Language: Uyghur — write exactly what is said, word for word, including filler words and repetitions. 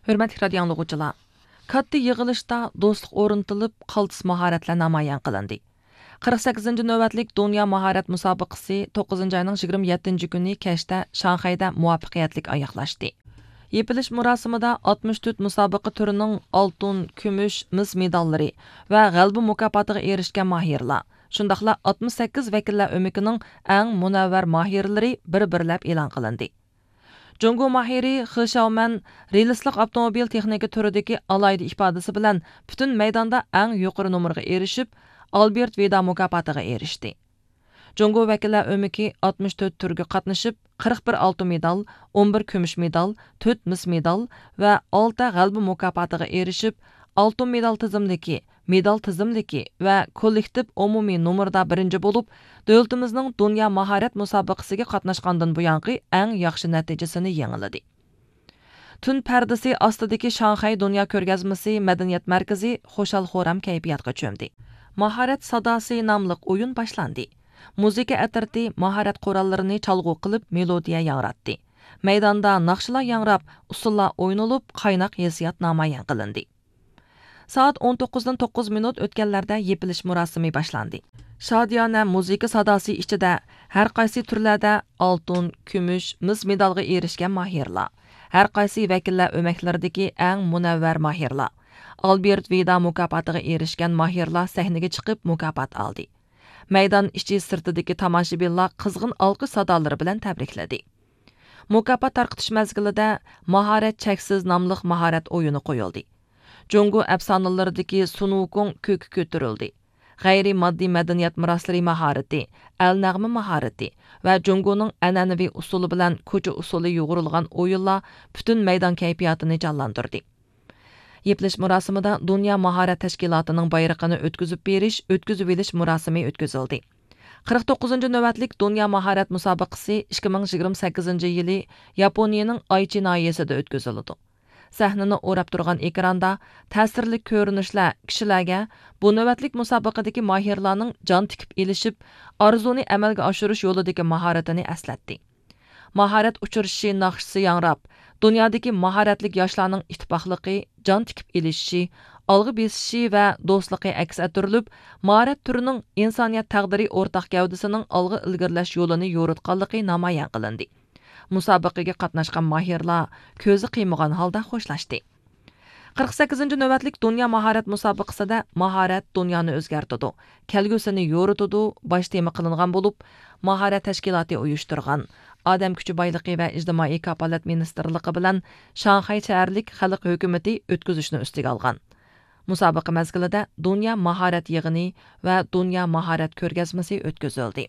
ھۆرمەتلىك رادىيو ئاڭلىغۇچىلار، كاتتا يىغىلىشتا دوستلۇق ئورنىتىلىپ، قالتىس ماھارەتلەر نامايان قىلىندى. قىرىق سەككىزىنچى نۆۋەتلىك دۇنيا ماھارەت مۇسابىقىسى توققۇزىنچى ئاينىڭ يىگىرمە يەتتىنچى كۈنى كەچتە شاڭخەيدە مۇۋەپپەقىيەتلىك ئاياغلاشتى. يېپىلىش مۇراسىمىدا ئاتمىش تۆت مۇسابىقە تۈرىنىڭ ئالتۇن، كۈمۈش، مىس مېداللىرى ۋە غەلىبە مۇكاپاتىغا ئېرىشكەن ماھىرلار، شۇنداقلا ئاتمىش سەككىز ۋەكىللەر ئۆمىكىنىڭ ئەڭ مۇنەۋۋەر ماھىرلىرى بىر-بىرلەپ ئېلان قىلىندى. جۇڭگو ماھىرى خې شياۋمەن رېلىسلىق ئاپتوموبىل تېخنىكا تۈرىدىكى ئالاھىدە ئىپادىسى بىلەن پۈتۈن مەيداندا ئەڭ يۇقىرى نومۇرغا ئېرىشىپ، ئالبېرت ۋىدا مۇكاپاتىغا ئېرىشتى. جۇڭگو ۋەكىللەر ئۆمىكى ئاتمىش تۆت تۈرگە قاتنىشىپ، قىرىق بىر ئالتۇن مېدال، ئون بىر كۈمۈش مېدال، تۆت مىس مېدال ۋە ئالتە غەلىبە مۇكاپاتىغا ئېرىشىپ، ئالتۇن مېدال تىزىملىكى، مېدال تىزىملىكى ۋە كوللېكتىپ ئومۇمىي نومۇردا بىرىنچى بولۇپ، دۆلىتىمىزنىڭ دۇنيا ماھارەت مۇسابىقىسىگە قاتناشقاندىن بۇيانقى ئەڭ ياخشى نەتىجىسىنى يېڭىلىدى. تۈن پەردىسى ئاستىدىكى شاڭخەي دۇنيا كۆرگەزمىسى مەدەنىيەت مەركىزى خۇشال-خۇرام كەيپىياتقا چۆمدى. ماھارەت ساداسى ناملىق ئويۇن باشلاندى. مۇزىكا ئەترىتى ماھارەت قوراللىرىنى چالغۇ قىلىپ مېلودىيە ياڭراتتى. مەيداندا ناخشىلار ياڭراپ، ئۇسسۇللار ئوينىلىپ، قايناق ھېسسىيات نامايان قىلىندى. سائەت ئون توققۇزدىن توققۇز مىنۇت ئۆتكەنلەردە يېپىلىش مۇراسىمى باشلاندى. شادىيانە مۇزىكا ساداسى ئىچىدە ھەر قايسى تۈرلەردە ئالتۇن، كۈمۈش، مىس مېدالغا ئېرىشكەن ماھىرلار، ھەر قايسى ۋەكىللەر ئۆمەكلىرىدىكى ئەڭ مۇنەۋۋەر ماھىرلار، ئالبېرت ۋىدا مۇكاپاتىغا ئېرىشكەن ماھىرلار سەھنىگە چىقىپ مۇكاپات ئالدى. مەيدان ئىچى سىرتىدىكى تاماشىبىنلار قىزغىن ئالقىش سادالىرى بىلەن تەبرىكلىدى. مۇكاپات تارقىتىش مەزگىلىدە ماھارەت چەكسىز ناملىق ماھارەت ئويۇنى قويۇلدى. جۇڭگو ئەپسانىلىرىدىكى سۇن ۋۇكۇڭ كۆككە كۆتۈرۈلدى. غەيرىي ماددىي مەدەنىيەت مىراسلىرى ماھارىتى، ئەل نەغمە ماھارىتى ۋە جۇڭگونىڭ ئەنئەنىۋى ئۇسسۇلى بىلەن كوچا ئۇسسۇلى يۇغۇرۇلغان ئويۇنلار پۈتۈن مەيدان كەيپىياتىنى جانلاندۇردى. يېپىلىش مۇراسىمىدا دۇنيا ماھارەت تەشكىلاتىنىڭ بايرىقىنى ئۆتكۈزۈپ بېرىش، ئۆتكۈزۈۋېلىش مۇراسىمى ئۆتكۈزۈلدى. قىرىق توققۇزىنچى نۆۋەتلىك دۇنيا ماھارەت مۇسابىقىسى ئىككى مىڭ يىگىرمە سەككىزىنچى يىلى ياپونىيىنىڭ ئايچى ناھىيەسىدە ئۆتكۈزۈلىدۇ. سەھنىنى ئوراپ تۇرغان ئېكراندا تەسىرلىك كۆرۈنۈشلەر كىشىلەرگە بۇ نۆۋەتلىك مۇسابىقىدىكى ماھىرلارنىڭ جان تىكىپ ئېلىشىپ، ئارزۇنى ئەمەلگە ئاشۇرۇش يولىدىكى ماھارىتىنى ئەسلەتتى. ماھارەت ئۇچرىشىشى ناخشىسى ياڭراپ، دۇنيادىكى ماھارەتلىك ياشلارنىڭ ئىتتىپاقلىقى، جان تىكىپ ئېلىشىشى، ئالغا بېسىشى ۋە دوستلۇقى ئەكس ئەتتۈرۈلۈپ، ماھارەت تۈرىنىڭ ئىنسانىيەت تەقدىرى ئورتاق گەۋدىسىنىڭ ئالغا ئىلگىرىلەش يولىنى يورۇتقانلىقى نامايان قىلىندى. مۇسابىقىگە قاتناشقان ماھىرلار كۆزى قىيمىغان ھالدا خوشلاشتى. قىرىق سەككىزىنچى نۆۋەتلىك دۇنيا ماھارەت مۇسابىقىسىدە ماھارەت دۇنيانى ئۆزگەرتىدۇ، كەلگۈسىنى يورۇتىدۇ باش تېما قىلىنغان بولۇپ، ماھارەت تەشكىلاتى ئۇيۇشتۇرغان، ئادەم كۈچى بايلىقى ۋە ئىجتىمائىي كاپالەت مىنىستىرلىقى بىلەن شاڭخەي شەھەرلىك خەلق ھۆكۈمىتى ئۆتكۈزۈشنى ئۈستىگە ئالغان. مۇسابىقە مەزگىلىدە دۇنيا ماھارەت يىغىنى ۋە دۇنيا ماھارەت كۆرگەزمىسى ئۆتكۈزۈلدى.